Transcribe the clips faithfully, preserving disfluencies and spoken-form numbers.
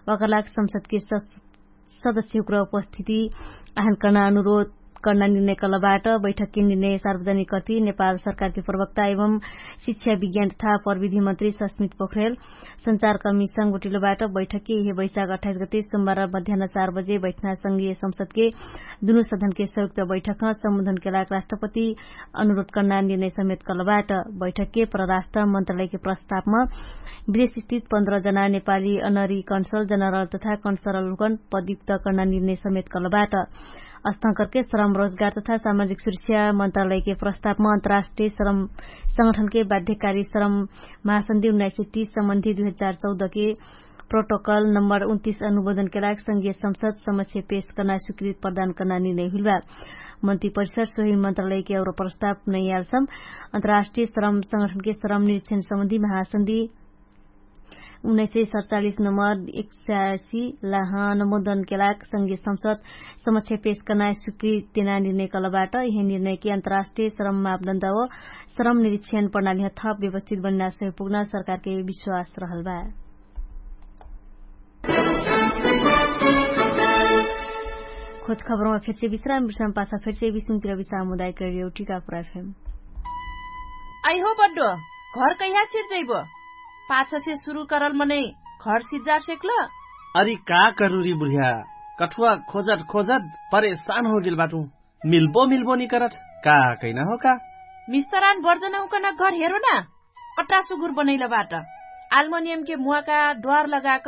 वकलाक संसदके सदस्यहुक्र उपस्थिति आहन कर्ना अनुरोध कर्ना निर्णय कलबाट। बैठकके निर्णय सार्वजनिक कर्ति नेपाल सरकारके प्रवक्ता एवं शिक्षा विज्ञान तथा प्रविधि मन्त्री सस्मित पोखरेल सञ्चारकर्मी संगोटिलोबाट। बैठकके यहे बैशाख अठाइस गते सोमबार मध्यान चार बजे बैठना संगीय संसदके दुनु सदनके संयुक्त बैठकमा सम्बोधनके लाग राष्ट्रपति अनुरोध कर्ना निर्णय समेत कलबाट। बैठकके परराष्ट्र मन्त्रालयके प्रस्तावमा विदेशस्थित पन्ध्र जना नेपाली अनरी कन्सल जनरल तथा कन्सरल हुकन पदयुक्त कर्ना निर्णय समेत कलबाट। अस्थाकरके श्रम रोजगार तथा सामाजिक सुरक्षा मन्त्रालयके प्रस्तावमा अन्तर्राष्ट्रिय श्रम संगठनके बाध्यकारी श्रम महासन्धि उन्नाइस सय तीस सम्बन्धी दुई हजार चौधके प्रोटोकल नम्बर उन्तिस अनुमोदनके लाग संगीय संसद समक्ष पेश कर्ना स्वीकृत प्रदान कर्ना निर्णय हुइलबा। मन्त्री परिषद सोही मन्त्रालयके अउरो प्रस्ताव नैयालसम अन्तर्राष्ट्रिय श्रम संगठनके श्रम निरीक्षण सम्बन्धी महासन्धि उन्नाइस सय सतचालिस नम्बर एकसासी लाह अनुमोदनके लाग संगीय संसद समक्ष पेश कर्ना स्वीकृत देना निर्णय कलबाट। यहे निर्णयके अन्तर्राष्ट्रिय श्रम मापदण्ड व श्रम निरीक्षण प्रणालीह थप व्यवस्थित बन्ना सहयोग पुग्ना सरकारके विश्वास रहलबा। खोज खबरमा फेरसे विश्राम विश्राम पाछा फेरसे विश्राम तिर विश्राम मुदायक रेडियो टिकापुर एफएम। आइहो बड्डो, घर कैहा सिर्जैबो? पाछसे सुरु करल मनै घर सिर्जार सेक्ल? अरि का करुरी बुढिया, कठुवा खोजत खोजत परेशान होगेल बाटु। मिल्बो मिल्बो निकरत का कैना हो का? मिस्तरान बर्जन हुकन घर हेरो ना। कट्टा सुगुर बनैल बाट। आल्मोनियमके मुवाका द्वार लगाक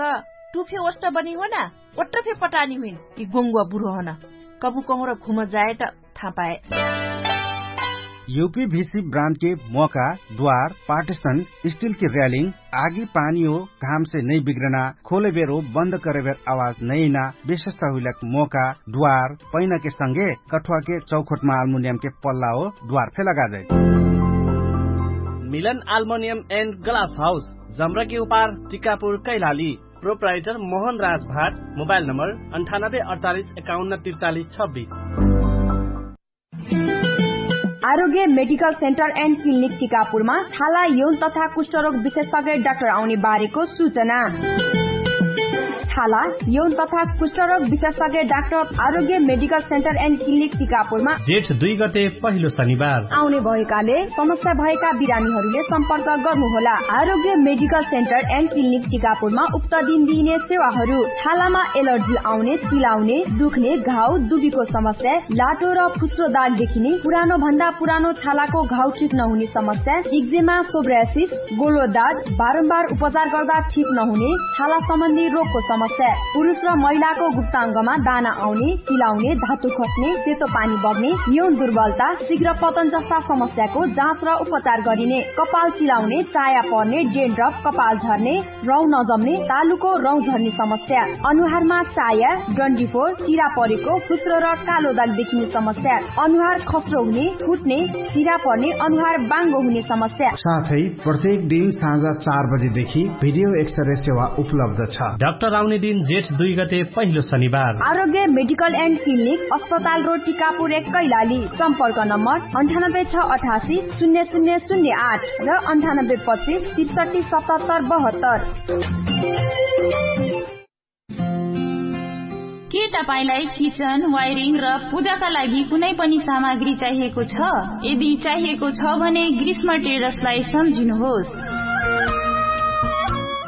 टुफे ओष्ट बनी हो ना। ओट्रफे पटानी हुइन कि गोङ्गुवा बुढो हन। कबु कहुँर घुम जाए त थापाए। युपी भिसी ब्रान्डके मोका द्वार पार्टिसन स्टिलके र्यालिङ आगी पानी हो घामसे नै बिग्रना खोलेबेर हो बन्द करेबेर आवाज नैना विशेषता हुइलक मोका द्वार पैनाके संगे कठुवाके चौखोटमा आल्मुनियमके पल्ला हो द्वार फे लगाजै। मिलन आल्मुनियम एन्ड ग्लास हाउस जम्रकी उपार टिकापुर कैलाली। प्रोप्राइटर मोहन राज भाट। मोबाइल नम्बर अन्ठानब्बे अडचालिस एकाउन्न त्रिचालिस छब्बिस। आरोग्य मेडिकल सेन्टर एन्ड क्लिनिक टिकापुरमा छाला यौन तथा कुष्ठरोग विशेषज्ञ डाक्टर आउने बारेको सूचना। छाला यौन तथा कुष्ठरोग विशेषज्ञ डाक्टर आरोग्य मेडिकल सेन्टर एन्ड क्लिनिक टिकापुरमा जेठ दुई गते पहिलो शनिबार आउने भएकाले समस्या भएका बिरामीहरूले सम्पर्क गर्नुहोला। आरोग्य मेडिकल सेन्टर एन्ड क्लिनिक टिकापुरमा उक्त दिन दिइने सेवाहरू छालामा एलर्जी आउने, चिलाउने, दुख्ने, घाउ, दुबीको समस्या, लाटो र फुस्रो दाग देखिने, पुरानो भन्दा पुरानो छालाको घाउ ठिक नहुने समस्या, इक्जेमा, सोब्रासिस, गोलो दाग, बारम्बार उपचार गर्दा ठिक नहुने, छाला सम्बन्धी रोगको समस्या, पुरुष र महिलाको गुप्ताङ्गमा दाना आउने, चिलाउने, धातु खस्ने, सेतो पानी बग्ने, यौन दुर्बलता, शीघ्र पतन जस्ता समस्याको जाँच र उपचार गरिने, कपाल चिलाउने, चाया पर्ने, डेन्ड्रफ, कपाल झर्ने, रौँ नजम्ने, तालुको रौँ झर्ने समस्या, अनुहारमा चाया, डन्डीफोर, चिरा परेको, फुस्रो र कालो दाग देखिने समस्या, अनुहार खस्रो हुने, फुट्ने, चिरा पर्ने, अनुहार बाङ्गो हुने समस्या। साथै प्रत्येक दिन साँझ चार बजेदेखि भिडियो एक्सरे सेवा उपलब्ध छ। डाक्टर आउने दिन जेठ दुई गते पहिलो शनिबार। आरोग्य मेडिकल एन्ड क्लिनिक, अस्पताल रोड, टिकापुर एक, कैलाली। सम्पर्क नम्बर अन्ठानब्बे छ अठासी शून्य शून्य शून्य आठ र अन्ठानब्बे पच्चिस त्रिसठी सतहत्तर बहत्तर। के तपाईंलाई किचन, वायरिङ र पूजाका लागि कुनै पनि सामग्री चाहिएको छ? यदि चाहिएको छ भने ग्रीष्म ट्रेडर्सलाई सम्झिनुहोस्।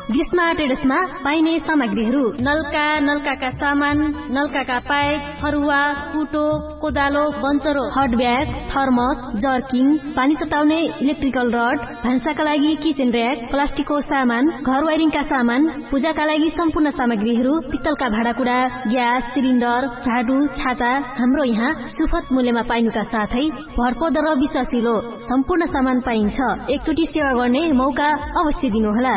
ग्रीष्म ट्रेडर्समा पाइने सामग्रीहरू नलका, नलकाका सामान, नलकाका पाइप, फरुवा, कुटो, कोदालो, बन्चरो, हट ब्याग, थर्मस, जर्किङ, पानी तताउने इलेक्ट्रिकल रड, भान्साका लागि किचन र्‍याक, प्लास्टिकको सामान, घर वायरिङका सामान, पूजाका लागि सम्पूर्ण सामग्रीहरू, पित्तलका भाँडाकुँडा, ग्यास सिलिन्डर, झाडु, छाता, हाम्रो यहाँ सुफत मूल्यमा पाइनुका साथै भरपर्दो र विश्वासिलो सम्पूर्ण सामान पाइन्छ। एकचोटि सेवा गर्ने मौका अवश्य दिनुहोला।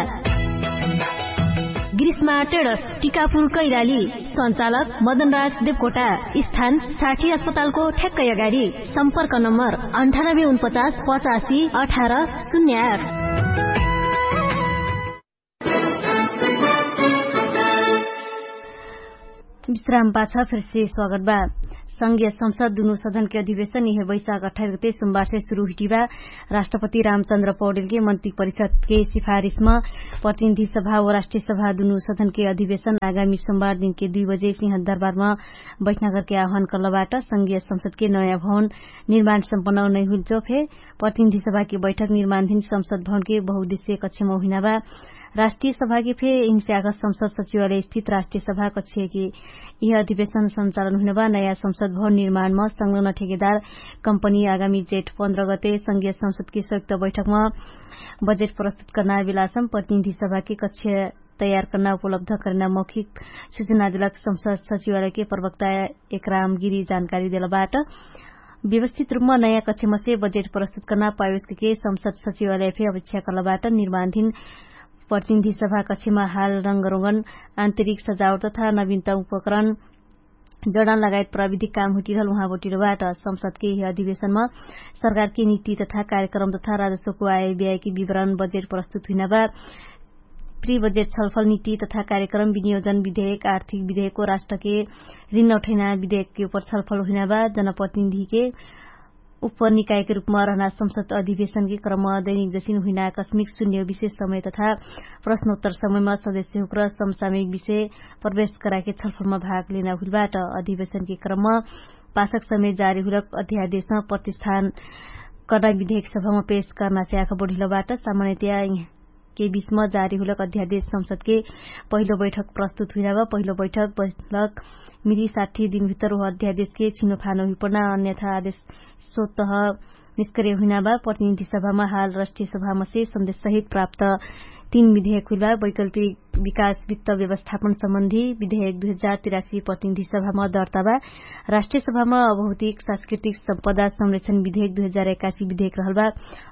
ग्रीष्मा ट्रेडर्स, टिकापुर कैलाली। सञ्चालक मदनराज देवकोटा। स्थान साठी अस्पतालको ठ्याक्कै अगाडि। सम्पर्क नम्बर अन्ठानब्बे उनपचास पचासी अठार शून्य आठ। विश्राम पाछ फेरसे स्वागत बा। संघीय संसद दुनु सदनके अधिवेशन इहे बैशाख अठाइस गते सोमबारसे सुरु हुइटिबा। राष्ट्रपति रामचन्द्र पौडेलके मन्त्री परिषदके सिफारिसमा प्रतिनिधि सभा व राष्ट्रिय सभा दुनु सदनके अधिवेशन आगामी सोमबार दिनके दुई बजे सिंहदरबारमा बैठना करके आह्वान करलबाट। संघीय संसदके नयाँ भवन निर्माण सम्पन्न नैहुइल चोफे प्रतिनिधि सभाके बैठक निर्माणधिन संसद भवनके बहुद्देश्य कक्षमा हुइनाबा। राष्ट्रिय सभाके फे इन्स्याक संसद सचिवालय स्थित राष्ट्रिय सभा कक्षके यह अधिवेशन सञ्चालन हुइनाबा। नयाँ संसद भवन निर्माणमा संग्लन ठेकेदार कम्पनी आगामी जेठ पन्ध्र गते संघीय संसदके संयुक्त बैठकमा बजेट प्रस्तुत कर्ना बेलासम प्रतिनिधि सभाके कक्ष तयार कर्ना उपलब्ध कर्ना मौखिक सुचना देलक संसद सचिवालयके प्रवक्ता एकराम गिरी जानकारी देलबाट। व्यवस्थित रुपमा नयाँ कक्षमसे बजेट प्रस्तुत कर्ना पायोसके संसद सचिवालय फे अपेक्षा कर्लबाट। निर्माणधिन प्रतिनिधि सभा कक्षमा हाल रङ्गरोगन आन्तरिक सजावट तथा नवीनता उपकरण जडान लगायत प्राविधिक काम हुइटिरहल उहाँ बोटिरबाट। संसदके यह अधिवेशनमा सरकारके निति तथा कार्यक्रम तथा राजस्वको आय ब्यायके विवरण बजेट प्रस्तुत हुइनाबा। प्रिबजेट छलफल निति तथा कार्यक्रम विनियोजन विधेयक आर्थिक विधेयकको राष्ट्रके रिन्नौठैना विधेयकके उपर छलफल हुइनाबा। जनप्रतिनिधिके उपनिकायके रुपमा रहना संसद अधिवेशनके क्रम दैनिक जसिन हुइना आकस्मिक सुन्यो विशेष समय तथा प्रश्नोत्तर समयमा सदस्यहुक्र समसामयिक विषय प्रवेश कराके छलफलमा भाग लेना हुइलबाट। अधिवेशनके क्रममा पासक समय जारी हुइलक अध्यादेशमा प्रतिष्ठान कर्ना विधेयक सभामा पेश कर्ना स्याख बोढिलबाट। सामान्यतया के बीचमा जारी हुलक अध्यादेश संसदके पहिलो बैठक प्रस्तुत हुइनाबा। पहिलो बैठक बैठक मिरी साठी दिनभितर उह अध्यादेशके छिनोफानो हुइपर्ना अन्यथा आदेश सोतह निष्क्रिय हुइनाबा। प्रतिनिधि सभामा हाल राष्ट्रिय सभामसे सन्देश सहित प्राप्त तीन विधेयक हुइलबा। वैकल्पिक विकास वित्त व्यवस्थापन सम्बन्धी विधेयक दुई हजार तिरासी प्रतिनिधि सभामा दर्ताबा। राष्ट्रिय सभामा अभौतिक सांस्कृतिक सम्पदा संरक्षण विधेयक दुई हजार एकासी विधेयक रहलबा।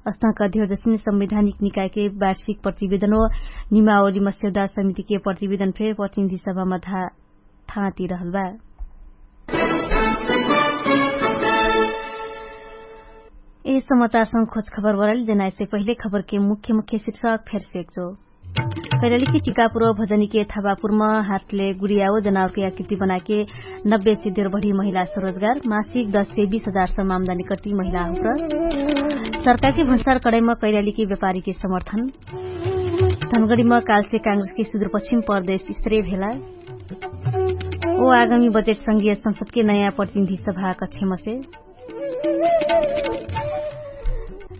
अस्थाक अध्यक्षसिन संवैधानिक निकायके वार्षिक प्रतिवेदन व निमावली मस्यौदा समितिके प्रतिवेदन फे प्रतिनिधि सभामा थाँति रहलबा। यस समाचारसँग खोज खबर बराइल जनाएसे पहिले खबरके मुख्य मुख्य शिर्षक फेर सेक्चो। कैलालीके टिकापुर भजनीके थाबापुरमा हातले गुडियाओ जनावरके आकृति बनाके नब्बे से देर बढी महिला स्वरोजगार मासिक दस से बीस हजार सम्म आमदानी कट्टी महिला हुँक्र। सरकारके भन्सार कडाइमा कैलालीके व्यापारीके समर्थन। धनगडीमा कालसे काङ्ग्रेसके सुदूरपश्चिम प्रदेश स्त्रे भेला। ओ आगामी बजेट संघीय संसदके नयाँ प्रतिनिधि सभा कक्षमसे।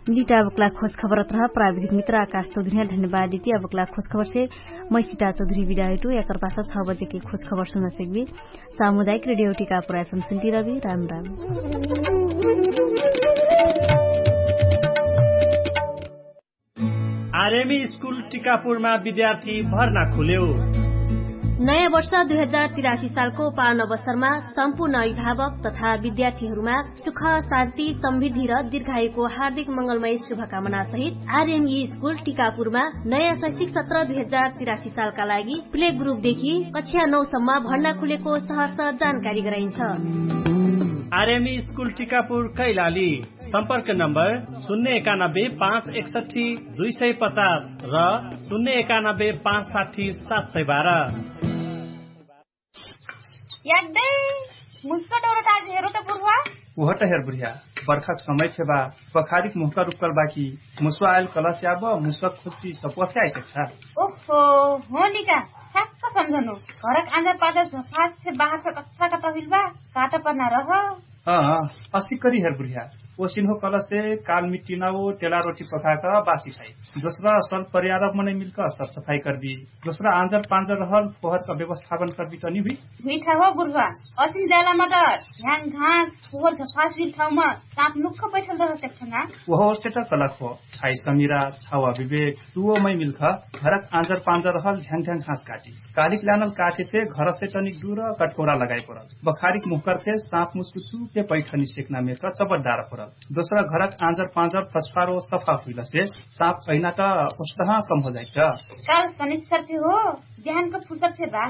लिटा अबकला खोज खबर अत्रह प्राविधिक मित्र आकाश चौधुरिया धन्यवाद डिटी अबकला खोज खबरसे। मै सिता चौधुरी बिदा हुइटु याकर पासा छ बजेके खोज खबर सुनसेकबी। सामुदायिक रेडियो टिका पुरायसम सुन्टी रबी राम राम। आरएमी स्कुल टिकापुरमा विद्यार्थी भर्ना खुल्यो। नयाँ वर्ष दुई हजार तिरासी सालको पावन अवसरमा सम्पूर्ण अभिभावक तथा विद्यार्थीहरूमा सुख, शान्ति, समृद्धि र दीर्घायुको हार्दिक मङ्गलमय शुभकामना सहित आरएमई स्कुल टिकापुरमा नयाँ शैक्षिक सत्र दुई हजार तिरासी सालका लागि प्ले ग्रुपदेखि कक्षा नौसम्म भर्ना खुलेको सहर्ष जानकारी गराइन्छ। आरएमई स्कुल टिकापुर कैलाली। सम्पर्क नम्बर शून्य एकानब्बे पाँच एकसट्ठी दुई सय पचास र शून्य एकानब्बे पाँच साठी सात सय बाह्र। यादै मुस्क डोरो ताज हेरो त बुर्वा। उहट हेर बुर्या। बर्खाक समय फेबा। बखारिक मुहका रुक्कल बाकी मुस्वा आयल कलस याब मुस्क खुस्ती सपुवा फे आइसक्ठा। ओहो। हो निका। ठ्याक्क सम्झनु। घरक आँजा पाँजा झफास फे बाहर फे कत्था कत्था हुइल बा। काटा पर्ना रह। अँ। असिकरी हेर बुर्या। ओसिन्हो कलसे काल मिट्टिना ओ तेला रोटी पकाक बासी खाइ। दोस्रा सल पर्यारब मनै मिल्क सरसफाइ कर्दी। दोस्रा आँजर पाँजर रहल फोहरक व्यवस्थापन कर्दी तनी हुइ। हुइठा हो बुर्वा। असिन ज्याला मत ह्याङ घाँस फोहर झफास हुइल ठाउँमा साँप नुक्ख बैठल रह सक्छ ना। ओहो ओर्सेट कलक हो। छाइ समिरा छावा विवेक। तुवो मै मिल्ख घरक आँजर पाँजर रहल ढ्याङ ढ्याङ घाँस काटी। कालिक लानल काठे फे घरसे तनिक दुर कटकोरा लगाइ परल। बखारिक मुहकर फे साँप मुस्कुछु फे पैठनी सेक्ना मेक चबट डार परल। दोस्रा घरक आँजर पाँजर फस्फारो सफा हुइलसे साँप अहिना त ओस्तहा कम हो जाइछ। काल सनिश्चर फे हो। बिहानको फुर्सद फे बा।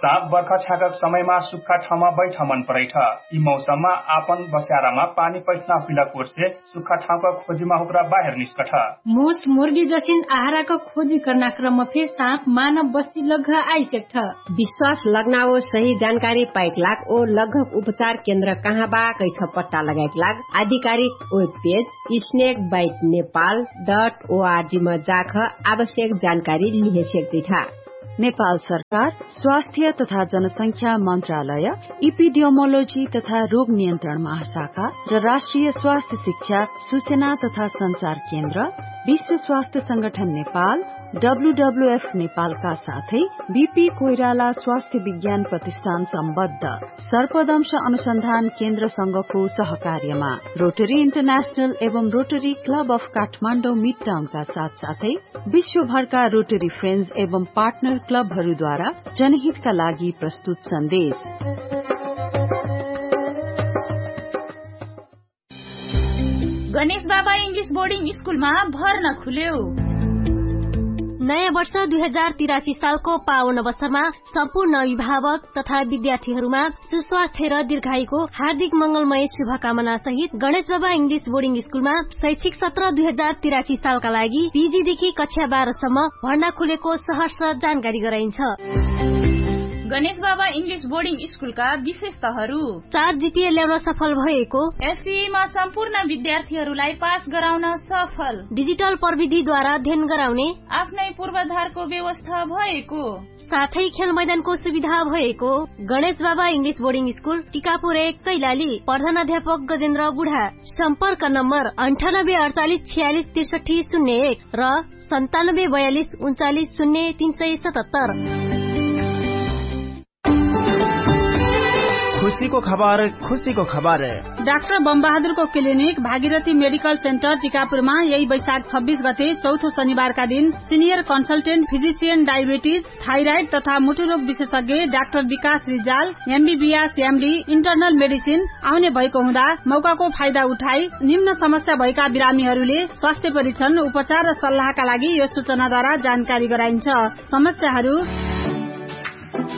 साप बर्खा छ्याकक समयमा सुक्खा ठाउँमा बैठ मन परैठ। यि मौसममा आपन बस्यारामा पानी पैठना हुइला कोर्से सुक्खा ठाउँका खोजिमा हुक्रा बाहेर निस्कठ। मुस मुर्गी जसिन आहाराक खोजी कर्ना क्रमफे साप मानव बस्ती लग्घ आइसेक्ठ। विश्वास लग्नाओ सही जानकारी पाइक लाग ओ लग्घक उपचार केन्द्र कहाँ बा कैठ पट्टा लगाइक लाग आधिकारिक web page snake bite Nepal dot ओआरजीमा जाख आवश्यक जानकारी लिहेसेक्दैठा। नेपाल सरकार स्वास्थ्य तथा जनसंख्या मन्त्रालय, इपिडियोमोलोजी तथा रोग नियन्त्रण महाशाखा र राष्ट्रिय स्वास्थ्य शिक्षा सूचना तथा सञ्चार केन्द्र, विश्व स्वास्थ्य संगठन नेपाल, डब्ल्युडब्ल्युएफ नेपालका साथै बिपी कोइराला स्वास्थ्य विज्ञान प्रतिष्ठान सम्बद्ध सर्पदंश अनुसन्धान केन्द्रसँगको सहकार्यमा रोटरी इन्टरनेशनल एवं रोटरी क्लब अफ काठमाडौँ मिड टाउनका साथसाथै विश्वभरका रोटरी फ्रेन्ड्स एवं पार्टनर क्लबहरूद्वारा जनहितका लागि प्रस्तुत सन्देश। गणेश बाबा इङ्ग्लिस बोर्डिङ स्कुलमा भर्ना खुल्यो। नयाँ वर्ष दुई हजार तिरासी सालको पावन अवसरमा सम्पूर्ण अभिभावक तथा विद्यार्थीहरूमा सुस्वास्थ्य र दीर्घायुको हार्दिक मंगलमय शुभकामना सहित गणेश बाबा इङ्ग्लिस बोर्डिङ स्कुलमा शैक्षिक सत्र दुई हजार तिरासी सालका लागि पिजीदेखि कक्षा बाह्रसम्म भर्ना खुलेको सहर्ष जानकारी गराइन्छ। गणेश बाबा इङ्ग्लिस बोर्डिङ स्कुलका विशेषताहरू। चार जिपिए ल्याउन सफल भएको। एससीमा सम्पूर्ण विद्यार्थीहरूलाई पास गराउन सफल। डिजिटल प्रविधिद्वारा अध्ययन गराउने। आफ्नै पूर्वाधारको व्यवस्था भएको। साथै खेल मैदानको सुविधा भएको। गणेश बाबा इङ्ग्लिस बोर्डिङ स्कुल टिकापुर एक कैलाली। प्रधान अध्यापक गजेन्द्र बुढा। सम्पर्क नम्बर अन्ठानब्बे अडचालिस छयालिस त्रिसठी शून्य एक र सन्तानब्बे बयालिस उन्चालिस शून्य तीन सय सतहत्तर। खुसीको खबर, खुसीको खबर। डाक्टर बमबहादुरको क्लिनिक भागीरथी मेडिकल सेन्टर टिकापुरमा यही वैशाख छब्बिस गते चौथो शनिबारका दिन senior consultant physician diabetes, thyroid तथा मुटुरोग विशेषज्ञ डाक्टर विकास Rijal, MBBS MD, internal medicine आउने भएको हुँदा मौकाको फाइदा उठाई निम्न समस्या भएका बिरामीहरूले स्वास्थ्य परीक्षण, उपचार र सल्लाहका लागि यो सूचनाद्वारा जानकारी गराइन्छ। समस्याहरू: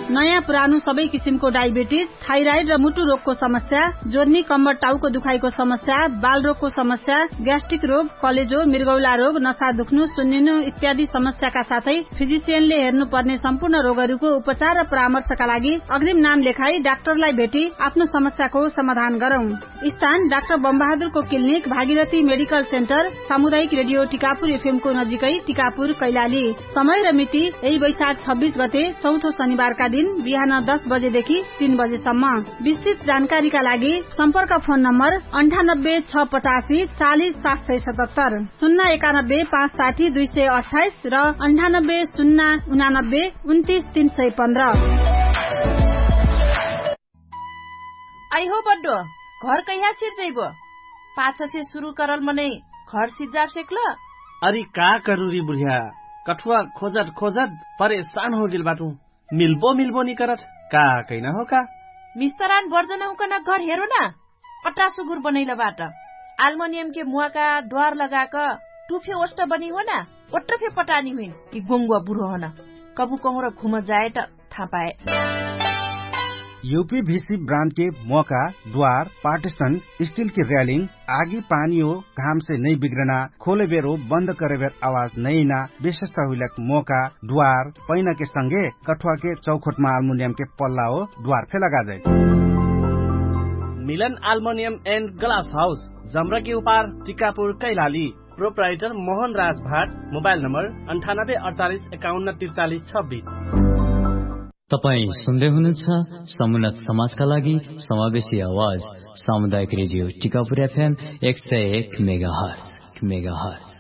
नयाँ पुरानो सबै किसिमको डायबिटिज, थाइराइड र मुटु रोगको समस्या, जोर्नी कम्बर टाउको दुखाइको समस्या, बालरोगको समस्या, ग्यास्ट्रिक रोग, कलेजो, मृगौला रोग, नसा दुख्नु, सुन्निनु इत्यादि समस्याका साथै फिजिसियनले हेर्नुपर्ने सम्पूर्ण रोगहरूको उपचार र परामर्शका लागि अग्रिम नाम लेखाई डाक्टरलाई भेटी आफ्नो समस्याको समाधान गरौँ। स्थान डाक्टर बमबहादुरको क्लिनिक, भागीरथी मेडिकल सेन्टर, सामुदायिक रेडियो टिकापुर एफएमको नजिकै टिकापुर, कैलाली। समय र मिति यही वैशाख छब्बिस गते चौथो शनिबारका दिन बिहान दस बजेदेखि तीन बजेसम्म। विस्तृत जानकारीका लागि सम्पर्क फोन नम्बर अन्ठानब्बे छ पचासी चालिस सात सय सतहत्तर, शून्य एकानब्बे पाँच साठी दुई सय अट्ठाइस र अन्ठानब्बे शून्य उनानब्बे उन्तिस तीन सय पन्ध्र। आइहो बड्डो, घर कैहा सिर्जैबो? पाछसे सुरु करल मनै घर सिर्जार सेक्ल? अरि का करुरी बुढिया, कठुवा खोजत खोजत परेशान होगेल बाटु। मिल्बो मिल्बो निकरत, का कैना हो का? मिस्तरान बर्जन हुकन घर हेरो ना। अट्टा सुगुर बनैल बाट। आल्मोनियमके मुवाका द्वार लगाक टुफे ओष्ट बनी हो ना। ओट्ट फे पटानी हुइन कि गोङ्गुवा बुढो हन। कबु कहुँर घुम जाए त थाहा पाए। युपी भिसी ब्रान्डके मोका, द्वार, पार्टिसन, स्टिलके र्यालिङ, आगी पानी हो घामसे नै बिग्रना, खोले बेरो बन्द करे बेर आवाज नैना, विशेषता हुइलक मोका, द्वार, पैनाके संगे कठुवाके चौखोटमा आल्मुनियमके पल्ला हो द्वार फे लगाजै। मिलन आल्मुनियम एन्ड ग्लास हाउस, जमराकी उपार, टिकापुर, कैलाली। प्रोप्राइटर मोहन राज भाट। मोबाइल नम्बर अन्ठानब्बे अडचालिस एकाउन्न त्रिचालिस छब्बिस। तपाईं सुन्दै हुनुहुन्छ समुन्नत समाजका लागि समावेशी आवाज, सामुदायिक रेडियो टिकापुर एफएम एक सय एक मेगाहर्ज।